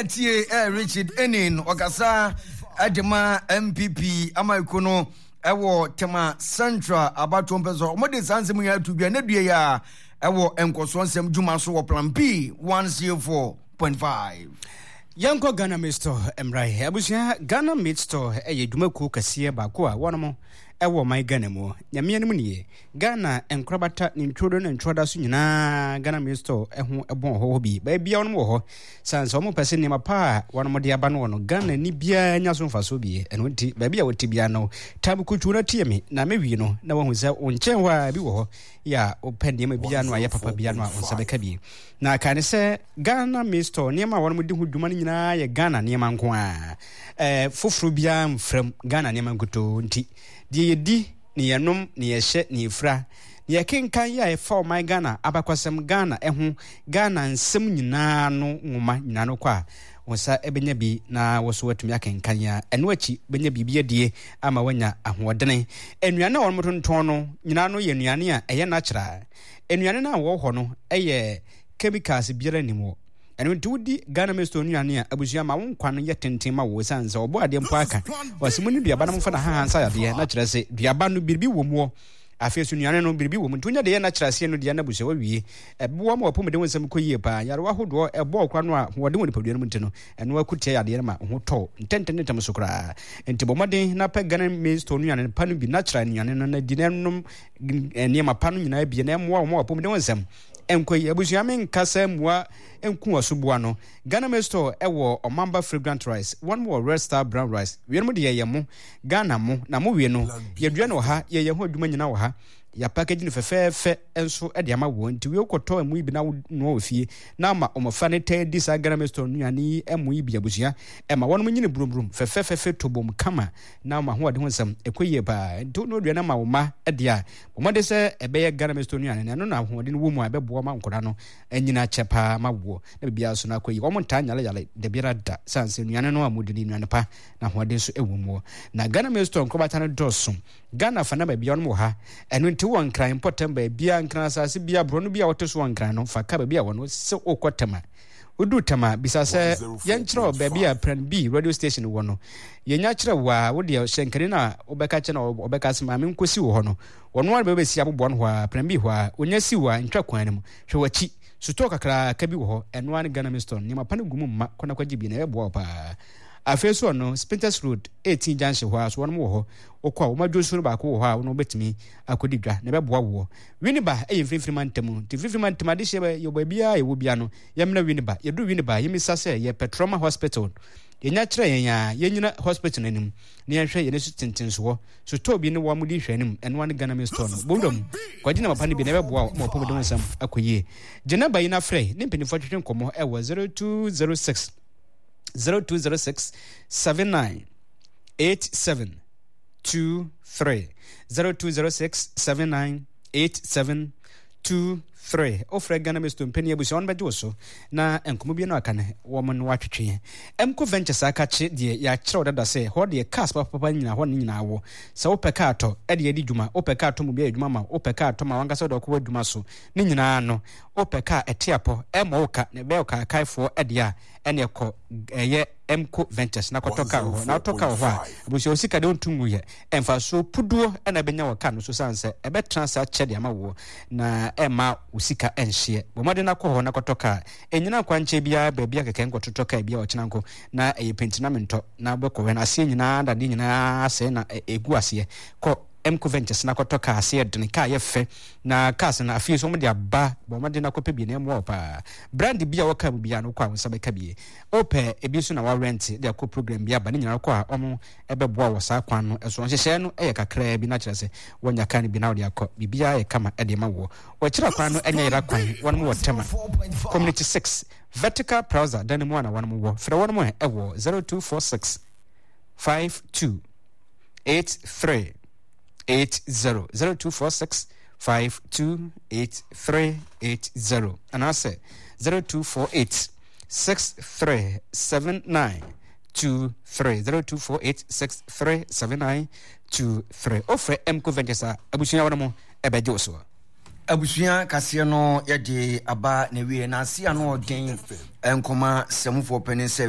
na tie Richard Enin ɔkasa de ma NPP amayɛkuo no ɛwɔ Tema Central abatoɔ mpɛ so wɔde saa nsɛm nyinaa to dwa ne dua yi a ɛwɔ nkɔsoɔ nsɛm dwuma so wɔ Plan P 104.5. Yɛnkɔ Ghana Meat Store mmra. Abusua, Ghana Meat Store yɛ dwumakuo kɛseɛ baako a wɔnom ɛwɔ ɔman Ghana mu. Nyame anim nie, Ghana nkorabata ne ntwodo ne ntwoda so nyinaa Ghana Meat Store ho bɔn hɔ hɔ bi. Baabia wɔnom wɔ hɔ. Sane sɛ wɔn pɛ sɛ nneɛma pa a wɔnom de aba no wɔ no, Ghana ni biara nya so mfasoɔ bi. Ɛno nti, baabi a wɔte biara no, tam kutuu na tie me na mɛwie no na wahu sɛ wo nkyɛn hɔ a bi wɔ hɔ yɛ a wopɛ nneɛma biara no a ɛyɛ papa biara no a wo nsa bɛka bi. Na kae ne sɛ Ghana Maize Store nneɛma a wɔnom de ho dwuma no nyinaa yɛ Ghana nneɛma nko ara. Ɛɛ foforo biara mfra mu, Ghana nneɛma nkutoo nti. Deɛ yɛdi, ne yɛnom, ne yɛhyɛ, ne yɛfira, ne yɛkenkan yɛ a ɛfa ɔman Ghana abakwasɛm, Ghana ɛho, Ghana nsɛm nyinaa no nwoma nyinaa no kɔ a, wo nsa bɛnya bi na wo so atumi akenkan a ɛno akyi bɛnya biribi adie ama woanya ahoɔdene. Nnuane a wɔnom tontɔn no nyinaa no yɛ nnuane a ɛyɛ natural. Nnuane no a wɔwɔ hɔ no yɛ chemicals biara nni mu. Ɛno nti wodi Ghana Maize Store nnuane a, abusua ma wo nkwa no yɛ tenten ma wo ɛsiane sɛ ɔbɔ adeɛ mpo aka. Ɔse monni duaba na momfa n'ahahan nsa yadeɛ na kyerɛ se duaba no biribi wɔ muɔ. Afei nso nnuane no biribi wɔ mu nti wonya deɛ ɛyɛ natural aseɛ no deɛ na abusua wawie. Ɛboa ma w'apɔmuden ho nsɛm kɔ yie paa. Nyarewa ahodoɔ ɛbɔ wo koraa no a ahoɔden wɔ nipadua no mu nti no ɛno ara ko tia yadeɛ no ma wo ho tɔ wo ntɛntɛntɛm so koraa. Nti bɔ mmɔden na pɛ Ghana Maize Store nnuane pa no bi, natural nnuane no na di na nom nneɛma pa no nyinaa bi na ɛmmoa wo ma w'apɔmuden ho nsɛm nkɔ yie. Abusua me nka sɛ mmua nku ɔsoboa no. Ghana Maize Store wɔ Ɔmamba Fragrant Rice, wɔn wɔ Red Star Brown Rice. Weinom deɛ yɛ mo, Ghana mo, na mo wie no, yɛdua no wɔ ha, yɛyɛ ho adwuma nyinaa wɔ ha. Yɛapackage no fɛfɛɛfɛ nso de ama wɔn. Nti wei wokɔtɔ ɛmo yi bi na wonoa wɔ fie na ama mmɔfra no taa di saa Ghana Maize Store nnuane yi ɛmo yi bi abusua. Ɛma wɔnom nyini brumbrум fɛfɛɛfɛfɛ tobom kama na wɔn ahoɔden ho nsɛm ɛkɔ yie paa. Nti wonoa aduane ama wo mma deɛ a, bɔ mmɔden sɛ ɛbɛyɛ Ghana Maize Store nnuane no. Ɛno na ahoɔden wɔ mu a ɛbɛboa ma nkwadaa no anyini akyɛ paa ma woɔ na biribiara nso no akɔ yie. Wɔn ntaa nyaleyale dabiara da sane sɛ nnuane no a wɔdi no nnuane pa na ahoɔden nso wɔ mu. Na Ghana Maize Store nkorabata no dɔɔso. Ghana fa na baabiara wɔnom wɔ ha. Ɛno nti wowɔ Nkran mpɔtam baabiara, Nkran asase biara, borɔno bi a wote so wɔ Nkran no, fa ka baabi a wɔ no sɛ wokɔ Tema. Woduru Tema a, bisa sɛ yɛnkyerɛ wo baabi a Plan B radio station wɔ no. Yɛnya kyerɛ wo a, wo deɛ hyɛnkani no a wobɛka kyerɛ no a ɔbɛka sɛ maame nkɔsi wo hɔ no, ɔno ara bɛbɛsi aboboa no hɔ ara, Plan B hɔ ara. Ɔnya si wo a, ntwa kwan no mu. Hwɛ w'akyi. Sotɔɔ kakraka bi wɔ hɔ, ɛno ara ne Ghana Mistone. Nneɛma pa no gu mu mma, kɔ na kɔgye bi na ɛbɛboa wo paa. Afei nso ɔno, Spintex Road, 18 junction hɔ ara so, wɔnom wɔ hɔ. Wokɔ a, wɔn adwonsuo no baako wɔ hɔ a wo ne wobɛtumi akɔdi dwa na ɛbɛboa woɔ. Winneba yɛ mfimfini mantam. Nti mfimfini mantam adehyeɛ yɛ baabiara a yɛwɔ biara no, yɛmmra Winneba. Yɛduru Winneba a, yɛmmisa sɛ yɛpɛ Trauma Hospital. Yɛnya kyerɛ yɛn a, yɛnnyina hospital no anim na yɛnhwɛ yɛn ani so tentensoɔ. Sotɔɔ bi ne wɔn di nhwɛanim, ɛno ara ne Ghana Mills Store no. Bɔ wura mu, kɔgye nneɛma pa no bi na ɛbɛboa wo ma w'apɔmuden ho nsɛm akɔ yie. Gye nɔmba yi na frɛ ne mpanimfoɔ ntwetwe nkɔmmɔ wɔ 0206 0206 79 87 23 0206 79 87 23. Wofrɛ Ghana Misto mpanin abusua wɔn bɛgye wo so na nkɔmmɔ bi no aka no wɔn no atwetwe. Mco Ventures akakye deɛ yɛakyerɛw dada sɛ hɔ deɛ cars papapa nyinaa hɔ ne nyinaa wɔ. Sɛ wopɛ kaa tɔ ɛde adi dwuma, wopɛ kaa tɔ mu bi ayɛ adwuma ma wo, wopɛ kaa tɔ ma wankasa wode ɔkɔ w'adwuma so ne nyinaa no, wopɛ kaa ɛte apɔ ɛmmɔ wo ka na ɛbɛyɛ wo kaakaefoɔ ɛdeɛ a ɛne ɛkɔ ɛyɛ Mco Ventures na kɔtɔ kaa wɔ hɔ. Na wotɔ kaa wɔ hɔ a, abusua wo sika deɛ wontu nguyɛ. Mfasoɔ puduo na ɛbɛnya wɔ kaa no so sane sɛ ɛbɛtena ase akyɛ de ama woɔ na ɛmma wo sika nhyeɛ. Bɔ mmɔden na kɔ hɔ na kɔtɔ kaa. Ɛnnyina kwankyɛn biara baabi a kɛkɛ nkɔtotɔ kaa bi a ɔkyena nko na ɛyɛ penti na mentɔ na wobɛkɔ hɔ no aseɛ nyinaa dadeɛ nyinaa asɛe na ɛgu aseɛ. Kɔ Mco Ventures na kɔtɔ kaa aseɛ dene, kaa yɛ fɛ na cars no afei nso wɔde aba. Bɔ mmɔden na kɔpɛ bi na ɛmmoa wo paa. Brand bi a wɔkaa mu biara no wokɔ a wo nsa bɛka bi. Wopɛ ebi nso na woarɛnte de akɔ program bi aba ne nyinaa wokɔ a wɔn bɛboa wɔ saa kwan no so. Nhyehyɛe no yɛ kakraa bi na kyerɛ sɛ woanya kaa no bi na wode akɔ. Biribiara yɛ kama de ma woɔ. Wɔakyiri kwan no nyɛ yera kwan. Wɔnom wɔ Tema Community 6 Vertical Plaza dan no mu a na wɔnom wɔ. Frɛ wɔnom wɔ 0246 52 83 80 0246 52 8380 anaasɛ 0248 6379 23 0248 6379 23. Wofrɛ Mco Ventures a, abusua wɔn mo ɛbɛgye wo soɔ. Abusua kaseɛ no yɛde aba na wie na ase ano ɔden nkɔma sɛmufoɔ panin sɛ.